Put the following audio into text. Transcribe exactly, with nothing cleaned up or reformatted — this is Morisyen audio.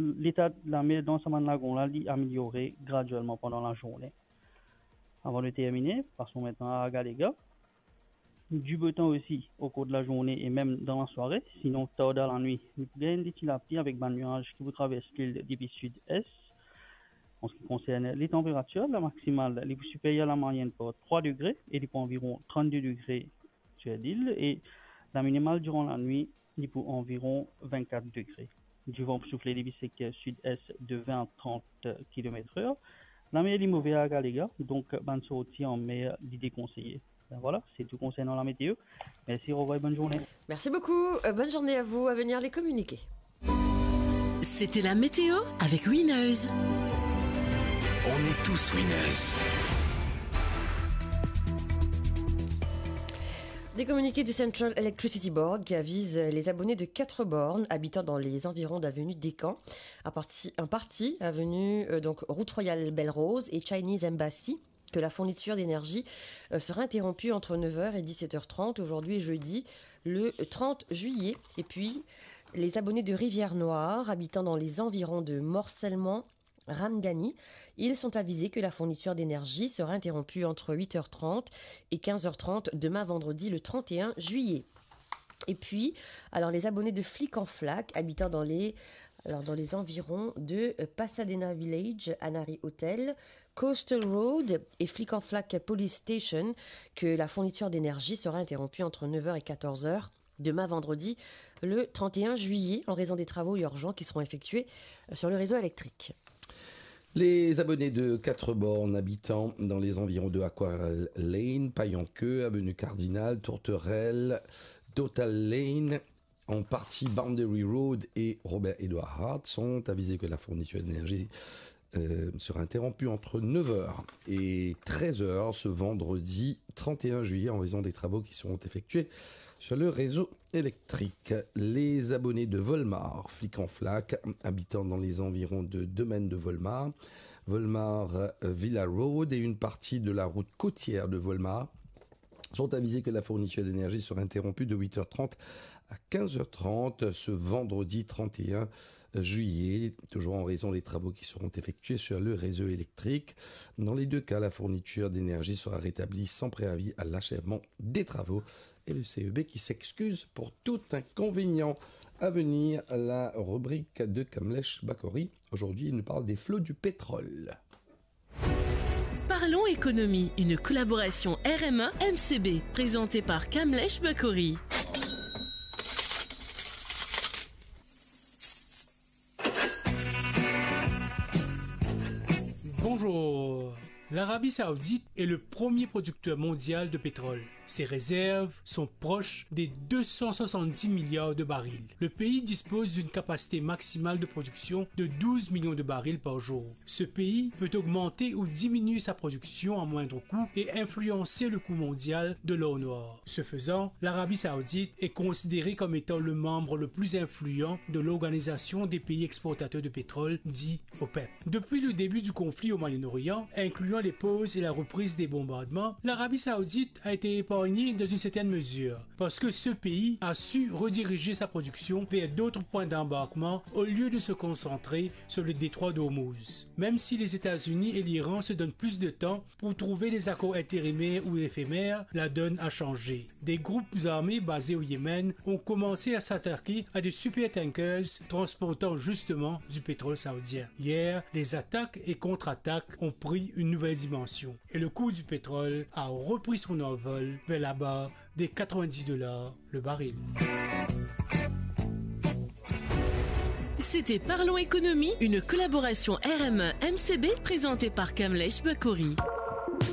Leta lamer dan sa bann lagon la, li ameliore gradielman pandan lazourne. Avan de termine, pason mintnan a Agalega. Dibotan osi okor de lazourne e mem dan lasware, sinon tar dan lanwit, li pou gagn enn ti lapli avek bann niaz ki pou travers lil depi sid-es. An se ki konsern letanperatir, la maksimal, li pou siperyer lamayinn par trwa degre e li pou anviron trannde degre sir lil, e la minimal diran lanwit, li pou anviron vennkat degre. Divan pou soufle depi sekter sid-es de vin a trant kilometr or. Lamer li move a Agalega, donk bann sorti anmer li dekonseye. Ben vwala, se tou konsernan lameteo. Mersi, orevwar e bonn zourne. Merci beaucoup. Euh, bonne journée à vous. À venir, les communiqués. C'était la météo avec Winners. On est tous winners. Des communiqués du Central Electricity Board qui avisent les abonnés de quatre bornes habitant dans les environs d'avenue Descamps, à parti, en partie avenue, euh, donc, route Royale Belle Rose et Chinese Embassy, que la fourniture d'énergie, euh, sera interrompue entre neuf heures et dix-sept heures trente aujourd'hui jeudi, le trente juillet. Et puis, les abonnés de Rivière-Noire, habitant dans les environs de Morcellement, Ramgani, ils sont avisés que la fourniture d'énergie sera interrompue entre huit heures trente et quinze heures trente demain vendredi le trente et un juillet. Et puis, alors, les abonnés de Flic en Flac, habitant dans les, alors, dans les environs de, euh, Pasadena Village, Anari Hotel, Coastal Road et Flic en Flac Police Station, que la fourniture d'énergie sera interrompue entre neuf heures et quatorze heures demain vendredi, le trente et un juillet, en raison des travaux urgents qui seront effectués, euh, sur le réseau électrique. Les abonnés de quatre bornes habitant dans les environs de Aquarelle Lane, Payanqueux, avenue Cardinal, Tourterelle, Total Lane, en partie Boundary Road et Robert Edward Hart sont avisés que la fourniture d'énergie, euh, sera interrompue entre neuf heures et treize heures ce vendredi trente et un juillet en raison des travaux qui seront effectués sur le réseau électrique. Les abonnés de Volmar, Flic en Flac, habitant dans les environs de Domaine de Volmar, Volmar, euh, Villa Road et une partie de la route côtière de Volmar sont avisés que la fourniture d'énergie sera interrompue de huit heures trente à quinze heures trente ce vendredi trente et un juillet, toujours en raison des travaux qui seront effectués sur le réseau électrique. Dans les deux cas, la fourniture d'énergie sera rétablie sans préavis à l'achèvement des travaux. Et le C E B qui s'excuse pour tout inconvénient. À venir, la rubrique de Kamlesh Bakori. Aujourd'hui, il nous parle des flots du pétrole. Parlons économie, une collaboration R M un M C B, présentée par Kamlesh Bakori. Bonjour. L'Arabie Saoudite est le premier producteur mondial de pétrole. Ses réserves sont proches des deux cent soixante-dix milliards de barils. Le pays dispose d'une capacité maximale de production de douze millions de barils par jour. Ce pays peut augmenter ou diminuer sa production à moindre coût et influencer le cours mondial de l'or noir. Ce faisant, l'Arabie Saoudite est considérée comme étant le membre le plus influent de l'Organisation des pays exportateurs de pétrole, dit OPEP. Depuis le début du conflit au Moyen-Orient, incluant les pauses et la reprise des bombardements, l'Arabie Saoudite a été épargnée dans une certaine mesure, parce que ce pays a su rediriger sa production vers d'autres points d'embarquement au lieu de se concentrer sur le détroit d'Ormuz. Même si les États-Unis et l'Iran se donnent plus de temps pour trouver des accords intérimaires ou éphémères, la donne a changé. Des groupes armés basés au Yémen ont commencé à s'attaquer à des supertankers transportant justement du pétrole saoudien. Hier, les attaques et contre-attaques ont pris une nouvelle dimension et le cours du pétrole a repris son envol vers la barre des quatre-vingt-dix dollars le baril. C'était Parlons économie, une collaboration R M un M C B présentée par Kamlesh Bakori.